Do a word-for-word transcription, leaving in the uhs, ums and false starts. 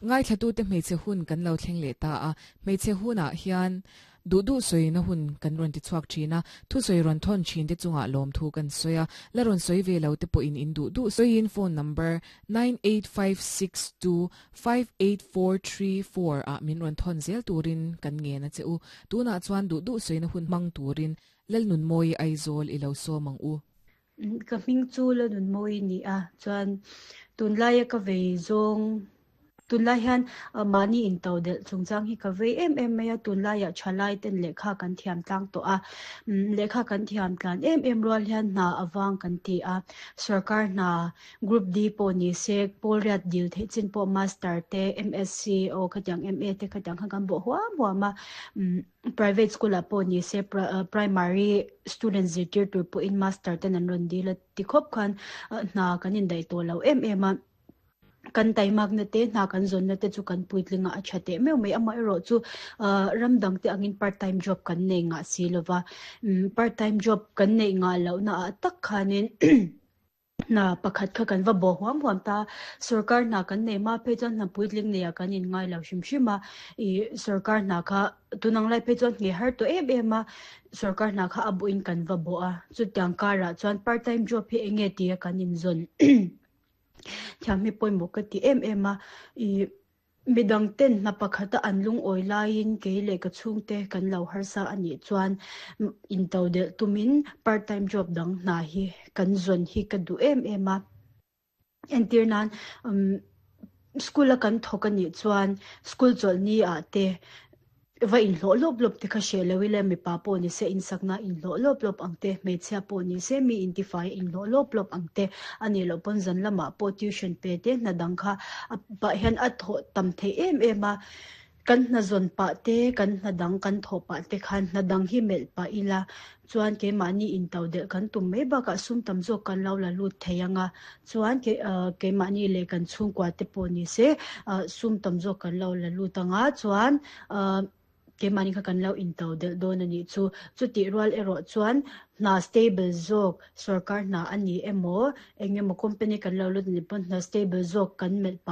Ngaithlatute hmeichhe hun kan lo thleng leh ta a, hmeichhe hunah hian duh duh sawina hun kan rawn ti chhuak thin a, thusawi rawn thawn thin te chungah lawmthu kan sawi a, la rawn sawi ve lo te pawhin in duh duh sawiin phone number nine eight five six two five eight four three four ah min rawn thawn zel turin kan ngen a che u. Tunah chuan duh duh sawina hun hmang turin Lalnunmawii Aizawl i lo sawm ang u. Ka hming chu Lalnunmawii ni a, chuan tunlaia ka vei zawng tunlai hian mahni into delh chungchang hi ka vei em em mai a, tunlaiah thalai ten lehkha kan thiam tlang tawh a, lehkha kan thiam tlan em em rual hian hna awang kan ti a, sarkar hna group D pawh ni se pawl riat dil theih chin pawh master te M S C aw khatiang M A te khatiang khan kan bawh huam huam a, private school ah pawh ni se primary student zirtir tur pawhin master ten an rawn dil a ti khawp khan hna kan indaih tawh lo em em a. Kan taimak na te hna kan zawn na te chu kan puitlinga a tha teh meuh mai, amaherawh chu ram dang te angin part time job kan nei ngah si lova, part time job kan neih ngah loh na ah tak khanin hna pakhat kha kan va bawh huam huam ta. Sarkar hna kan nei ma phei chuan hna puitling nei ah kan in ngai lo hrim hrim a, ih sarkar hna kha tunang lai phei chuan hne har tawh em em a, sarkar hna kha a bawhin kan va bawh a. Chutiang karah chuan part time job hi enge ti a kan inzawn thiam hi pawimawh ka ti em em a. Ih midang ten hna pakhata an lungawi laiin kei leh ka chhungte kan lo harsa anih chuan into delh tumin part time job dang hna hi kan zawn hi ka duh em em a. Entir nan um school a kan thawk anih chuan school chawlhni ah te va inhlawh lawp lawp te kha hreh lo ila, mipa pawh ni se insakna inhlawh lawp lawp ang te, hmeichhia pawh ni se mi intifai inhlawh lawp lawp ang te, ani loh pawn zan lamah pawh tuition pe te hna dang kha a pah hian a thawh tam thei em em a. Kan hna zawn pah te kan hna dang kan thawh pah te khan hna dang hi melh pah ila chuan keimahni into delh kan tum mai bakah sum tam zawk kan lo la lut thei anga, chuan ke keimahni leh kan chhungkua te pawh ni se sum tam zawk kan lo la lut anga, chuan keimahni kha kan lo into delh dawn anih chu. Chutih rual erawh chuan hna stable zawk, sarkar hna ani emaw engemaw company kan lo lut ani pawn hna stable zawk kan melh pah.